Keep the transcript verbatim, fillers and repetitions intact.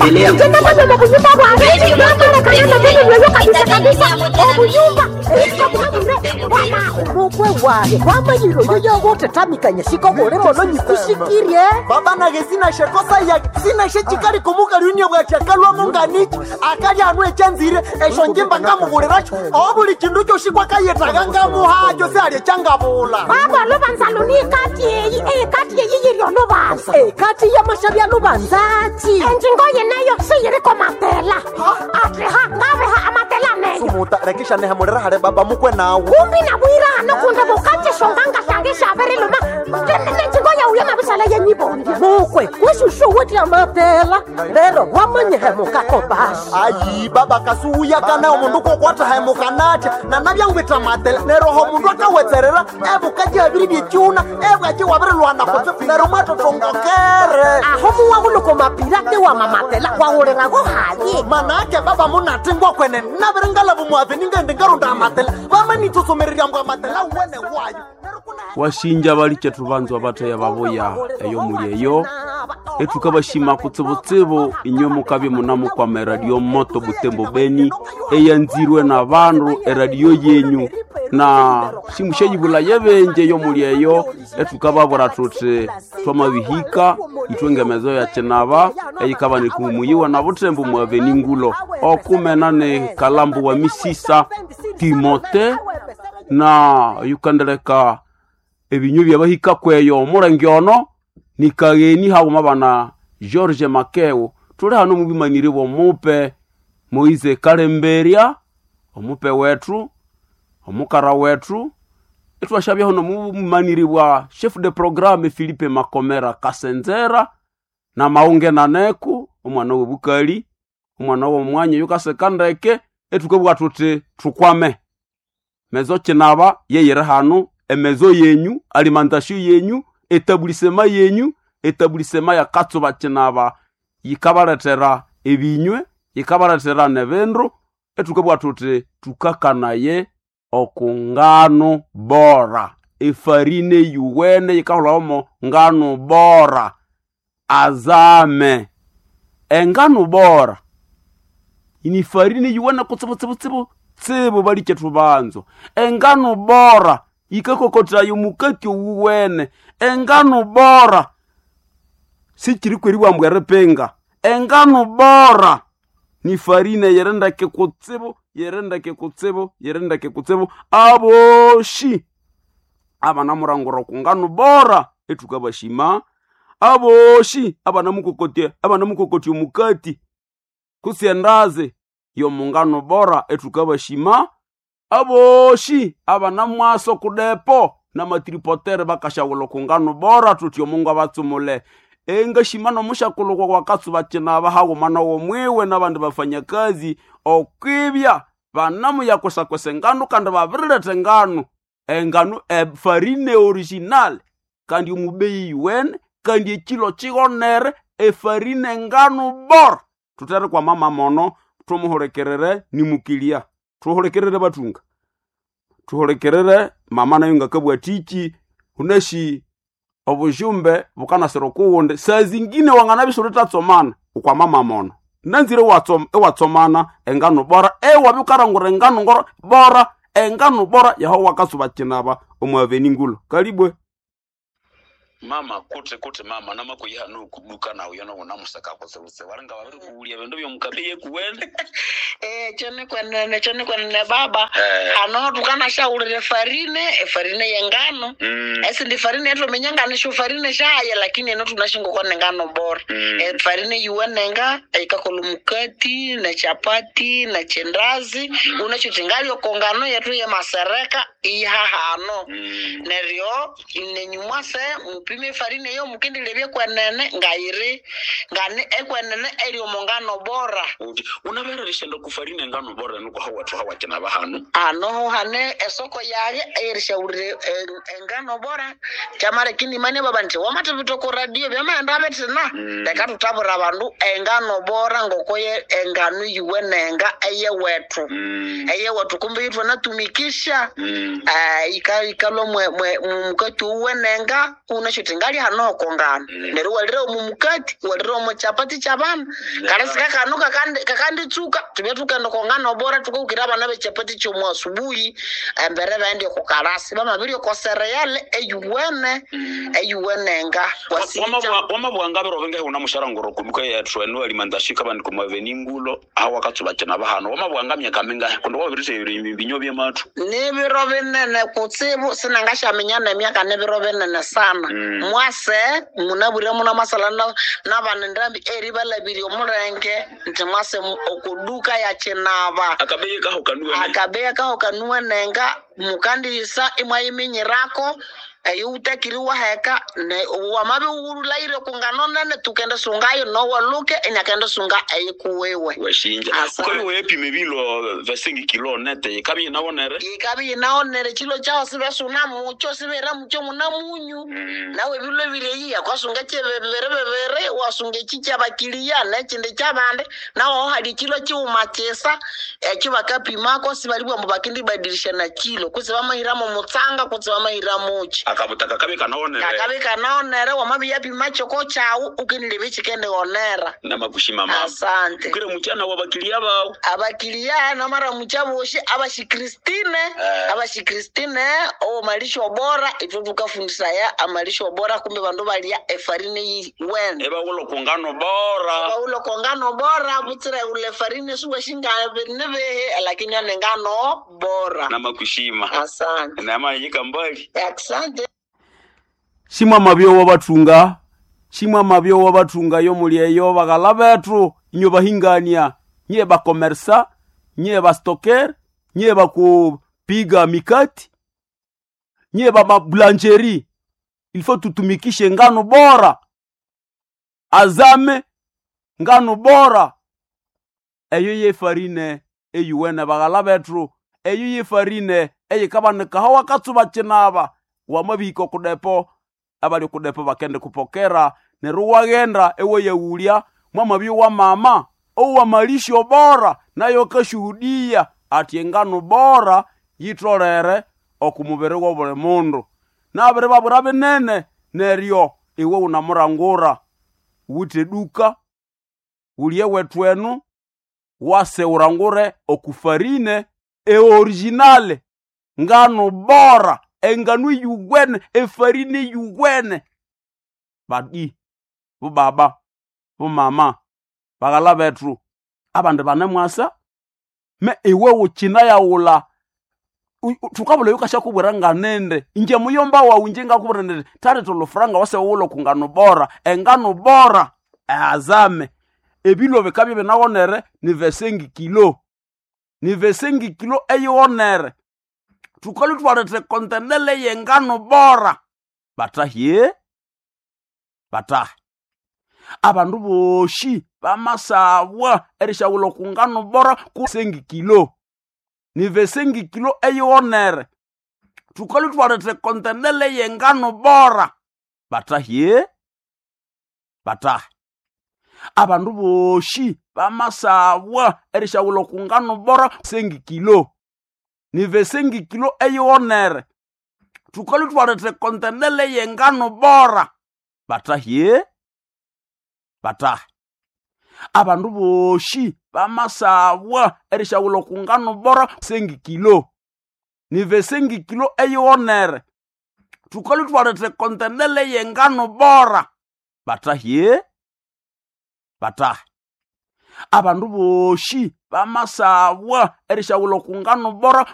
Njenga buyumba bwange namarekana kabisa kabisa obuyumba mukwe wahe wamayiro yoyogotetamikanya sikobole mono nyikusikirie Baba nage sinashe kosa ya sinashe chikali kumuka lunia bwachakalwamo nganichi akali anu echanzire esho njimba ngamubuliracho obuli chindu choshi kwakayetaga ngamuhacho se ali changabula. Baba lubanza lunikati eyi ekati eyi yiryo lubanza Ekati y'amashabi alubanzachi. Enjingo yeneyo siyiriko matela atiha ngabeha amatela neyo. Sumuta rekisha nehemulira hale baba mukwe nawe. Kumbi nabwirano kunde bukachishonganga shange shabiriluma nenjingo yauye mabisala yenyibondi. Mukwe weshushu wetya matela lero wamanyihemukako basi. Ayi baba kasuuya kana omundu kokwata hemukanatya nanabyangwitha matela neroho omundu akawetserera ebukaji abiri byekyuna ebwaji wabirilwana kutse nero mwatotongokere. Aho muwahuluko mapirate wa mamatela wahulirago haye. Manake baba munatingwa kwene nabiringalavu mwave ningendi ngarunda amatela vamanitsosomererya mbwa amatela wene wayo. Washinja balichethu banzwa batheya babuya eyo muli eyo etukabashima kutsibutsibu inywe mukabye munamukwama eradio moto Butembo Beni eyanzirwe na bandu eradio yenyu na simusheyibula yebenje eyo muli eyo etukababwira thuthi twamabihika ithwe ngemezo ya kinaba eyikaba nikumuyiwa na Butembo mwaveni ngulo okumena ni kalambu wa misisa Timote na yukandeleka ebinywa byabahika kweyo omulenge ono nikagheni haghuma bana George Makeo tuli hano mubimaniri bw'omupe Moise Kalemberia omupe wethu omukara wethu itwashabya hano mubimaniri bwa chef de programme Philippe Makomera Kasenzera na maunge naneku omwana w'obukali omwana w'omwanya yukaseka ndeke etukabugha thuthi thukwame mezo kinaba yeyiri hano emezo yenyu alimentation yenyu etabulisema yenyu etabulisema ya katsuba kinaba yikabalethera ebinywe yikabalethera nebindu etukabugha thuthi tukakanaye okungano bora efarine yuwene yikahulhawomo ngano bora azame engano bora ini farine yuwene kutsibutsibutsibu tsibu balichethu banzo engano bora yikakokotayo mukati owuwene engano bora sichirikweriwa mbwa eripinga engano bora ni farine yerendeke kutsibu yerendeke kutsibu yerendeke kutsibu aboshi abanamurangura kungano bora etukabashima aboshi abanamukokotia abanamukokotia omukati kusiendaze yomungano bora etukabashima aboshi abanamwaso kudepo namatripotere bakashawula kungano bora tuti omungu abatsumule engashima nomushakulukwa kwakatsuba kinaba haghuma nowomwiwe nabandi bafanyakazi okwibya banamuyakusakwesa engano kandi babiriletha engano engano efarine original kandi omubeyi yuwene kandi ekilo kighonere efarine engano bora thutere kwa mama mono tumuhulekerere nimukilia tuhulekerere batunga tuhulekerere mama nayo ngakabwa tiki unashi obujumbe bukanasira okuwundi saa zingine wanganabya utatsomana ukwa mama mono nanzire watsom- ewatsomana engano bora ewabya ukarangura engano ngoro bora engano bora yaho wakasuba kinaba omwaveni ngulo kalibwe. Mama kuti kuti mama namakuyiha nukuduka nawe yona unamusaka kutsibutse walinga wabiri kuwulya bindu byomukabe yekuwene. Eh, chone kwenene chone kwenene baba. Eh. Hano tukanashaulire farine efarine yengano. Mm. Esindi farine yetuminya ngano sho farine shaye lakini eno tunashingokwa nengano bora. Mm. E, farine yuwenenga ikakola mukati na chapati na chendazi mm. unachotingalio kongano yetu yemasereka ihahano. Mm. Neryo nenyumwase mupime efarine eyo mukindilebye kwenene ngayiri ngane ekwenene eri omongano bora. Uti unabereresha kufarine engano bora nuko hawathu hawakinaba hano. Ano hane esoko yage erishaurire engano bora chamare kini mane baba nti wamatipito ku radio byamaenda betina. Mm. Leka tutabura abandu engano bora ngokoye engano yuwenenga eyewethu. Mm. Eyewethu kumbe itwe natumikisha. Mm. Ah, ika ikalwa mwe mwe mukati uwenenga unasho. unashuti ngali hano okongano Mm. neryo walira omu mukati walira omu chapati kyabana kalesika kano kakandi- kakanditsuka tubye tukenda okongano bora tukaukira abana bechapati kyomu asubuhi embere baende okukalasi bamabiri okosereyale eyuwene eyuwenenga wasinja wamabwanga biro bingahe unamusharanguro kuduka yethu enu alimandashika bandi kumaveni ngulo aho wakatsubakina bahano wamabwanga myaka mingahe kundi wabirithe ebinyo byemathu nibiro binene kutsibu sinangashaminya nemyaka nibiro binene sana Mm. mwase munabwire muna masala na- nabana ndambi eri balabirye omulenge nti mwase mu- okuduka ya kinaba akabeyi kaho kanuwene akabeya kaho kanuwenenga mukandiyisa imwayiminyirako eyo utakiri waheka ne wamabi wulaire kungano nene tukende sungayo nowaluke inyakende sunga eyikuwiwe weshinja Asante. ukabi wepima ebilo vesingi kilo nete ikabi yinawonere ikabi yinaonere chilo chao sibesuna mucho sibera mucho muna munyu nawe bilo bileyi akwasunga chebebere bebere wasunga echi kyabakiliya nechindi kyabandi nawe aho hali chilo chiuma chisa ekyo bakapimako sibalibwa mbu bakindibadilisha na kilo kutsi bamahiramo mutsanga kutsi bamahiramochi akabutaka kabi kanawonere kakabi kanaonere wamabi yapima choko chawu ukinilebe chikendionera namakushima mama asante ukire muchana wabakilia bawo abakiliya namara muchaboshi abashikristine Eh. abashikristine omalisho bora itwe tukafundisaya amalisho bora kumbe bandu balya efarine yiwene ebawulo kungano bora baulo kongano bora butsira ule farine suwashinganebehe lakini anengano bora namakushima asante namayika mbali asante Shimwa mabyo wabathunga shimwa mabyo wabathunga yo muli eyo baghala bethu inyo bahingania nye bakomersa nye bastoker nye bakupiga mikati nye bamablancheri ilifo tutumikishe ngano bora azame ngano bora eyo yefarine eyuwene baghala bethu eyo yefarine eyikabanikaho wakatsuba kinaba wamabihika okudepo abali okudepo bakende kupokera neryo waghenda ewayawulya mwamabya wa mama owamalisho bora nayo akashuhudia ati engano bora yitolere oku mubiri wobuli mundu nabiri babwira binene neryo iwe wunamurangura wuthe duka wulye wethu enu wase urangure okufarine eoriginale ngano bora engano yuwene efarine yuwene badi bubaba bumama baghala bethu abandu banemwasa me iwe wukina yawula thukabula yukashakubwira nganende inje muyomba wawu inje ngakubwira nende tali tolofuranga wase wula kungano bora engano bora ehazame ebilo bikabya binawonere ni vesengi kilo ni vesengi kilo eyiwonere thukali thwaletha kontenele yengano bora batahye batahe abandu boshi bamasabwa erishawula kungano bora kusengi kilo ni vesengi kilo eyiwonere thukali thwaletha kontenele yengano bora batahye batahe abandu boshi bamasabwa erishawula kungano bora sengi kilo ni vesengi kilo eyiwonere thukali thwaletha kontenele yengano bora batahye batahe abandu boshi bamasabwa erishawula kungano bora sengi kilo ni vesengi kilo eyiwonere thukali thwaletha kontenele yengano bora batahye batahe abandu boshi bamasabwa erishawula kungano bora